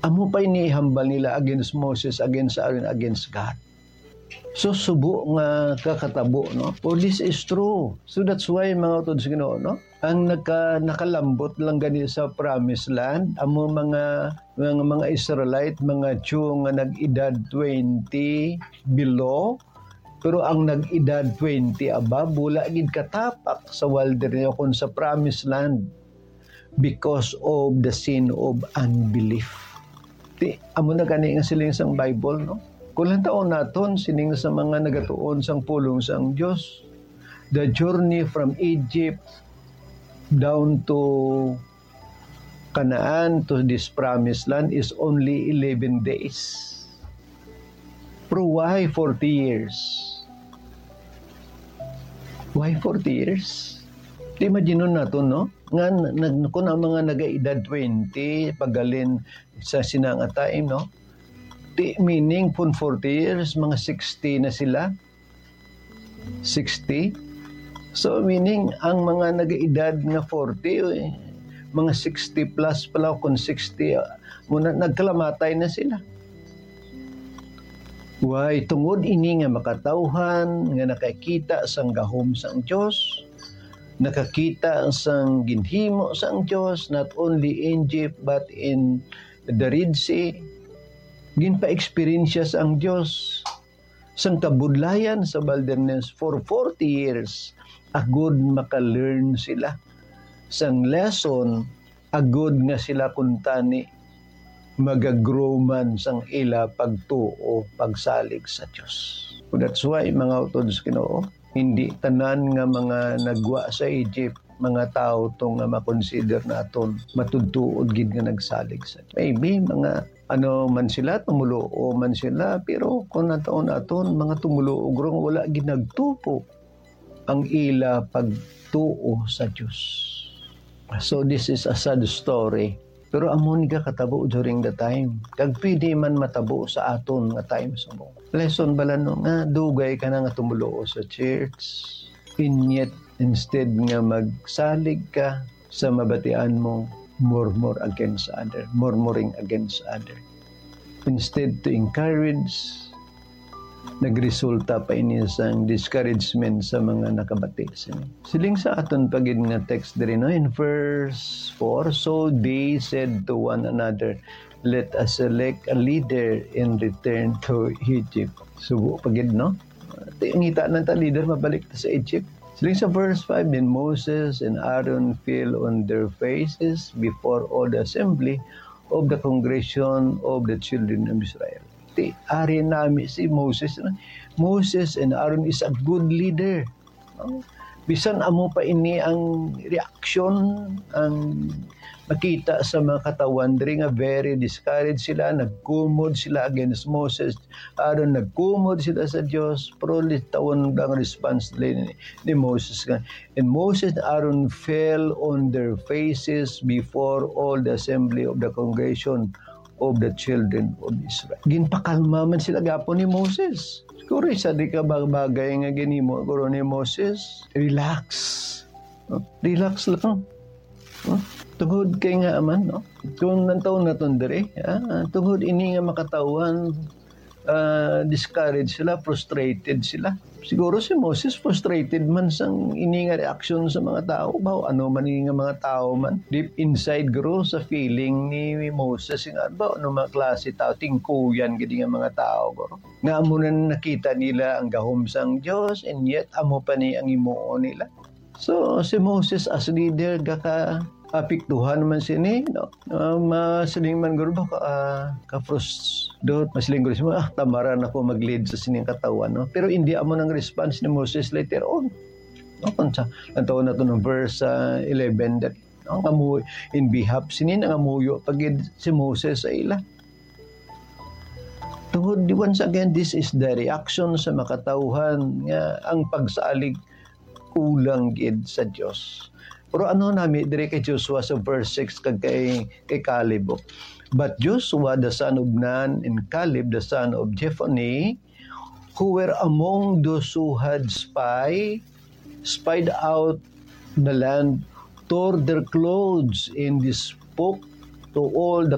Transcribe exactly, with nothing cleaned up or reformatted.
Amo pa ini ihambal nila against Moses, against Aaron, against God. So, subo nga kakatabo, no? For this is true. So, that's why, mga utod sa Ginoo, no? Ang naka-, nakalambot lang gani sa promised land, amo mga, mga, mga Israelite, mga Jew nga nag-edad twenty below, pero ang nag-edad twenty above, wala gid katapak sa wilderness o kung sa promised land because of the sin of unbelief. Ti, amo na gani nga siling sang Bible, no? Kung lantaon naton, sining sa mga nagatuon sang pulong sang Dios, the journey from Egypt down to Canaan, to this promised land, is only eleven days. Pero why forty years? Why forty years? Imagine naton, no? Nga, nag-, kung ang mga nagaedad twenty, paghalin sa sina nga time, no? Di, meaning, kung forty years, mga sixty na sila. Sixty? So, meaning, ang mga nagaedad nga forty, eh, mga sixty plus pala, kung sixty, ah, muna, nagkalamatay na sila. Why? Tungod ini nga makatawhan nga nakakita sang gahom sang Dios, nakakita sang ginhimo sang Dios, not only in Egypt, but in the Red Sea. Ginpa-eksperyensya sang Dios sang kabudlayan sa wilderness for forty years, agud maka-learn sila sang lesson, agud nga sila kuntani magagrow man sang ila pagtuo, pagsalig sa Dios. That's why, mga utod sa Ginoo, hindi tanan nga mga nagwa sa Egypt, mga tawo to nga makonsider naton matudtuod gid nga nagsalig sa Dios. Maybe mga ano man sila, tumuluo man sila, pero kung nataon aton, mga tumuluo guro nga wala gid nagtupo ang ila pagtuo sa Dios. So, this is a sad story. Pero amo ni ka katabo during the time. Kag pwede man matabo sa aton nga time subong. Lesson bala no nga dugay ka na nga tumuluo sa church. And yet, instead nga magsalig ka sa mabatian mo, murmur against other, murmuring against other. Instead to encourage, nagresulta pa ini sang discouragement sa mga nakabati sini. Siling sa aton pa gid nga text diri, no, in verse four, "So they said to one another, 'Let us select a leader and return to Egypt.'" Subo pa gid, no? Ti-, ngita na ta leader, mabalik ta sa Egypt. Siling sa verse five, "Then Moses and Aaron fell on their faces before all the assembly of the congregation of the children of Israel." Ti, ari nami si Moses, no? Moses and Aaron is a good leader. No? Bisan amo pa ini ang reaksyon, ang makita sa mga katawhan diri nga very discouraged sila, nagkumod sila against Moses, Aaron, nagkumod sila sa Dios, pero litawon ang response nila ni, ni Moses nga, "And Moses and Aaron fell on their faces before all the assembly of the congregation of the children of Israel." Ginpakalma man sila gapon ni Moses. Siguro isa di ka bag-, bagay nga ginhimo guro ni Moses. Relax. No? Relax lang. No? Tungod kay nga man, no? Kung nantaw naton diri, ah, tungod ini nga makatawhan, ah, discouraged sila, frustrated sila. Siguro si Moses frustrated man sang ini nga reaksyon sa mga tawo. Ba, ano man ini nga mga tawo man? Deep inside, guro, sa feeling ni Moses, nga, ba, ano mga klase tawo, tingkuyan gid nga mga tawo, guro. Nga amo na nakita nila ang gahom sang Dios, and yet amo pa ni ang himuon nila. So, si Moses as leader, gaka-apektuhan man sini, no? Ah, masiling man guro ba ka, ah, ka-frus-, do, masiling guro siya, "Ah, tamaran ako mag-lead sa sining katawhan," no? Pero hindi amo nang response ni Moses later on. No? Kung sa, ang tawag nato ng verse, ah, eleven, that, no? Nga mo, in behalf, sini nangamuyo pa gid si Moses sa ila. Tungod, once again, this is the reaction sa makatawhan nga ang pagsalig kulang gid sa Dios. Pero ano nami diri kay Joshua sa verse six kag kay, kay Caleb, oh? "But Joshua, the son of Nun, and Caleb, the son of Jephunneh, who were among those who had spy, spied out the land, tore their clothes, and they spoke to all the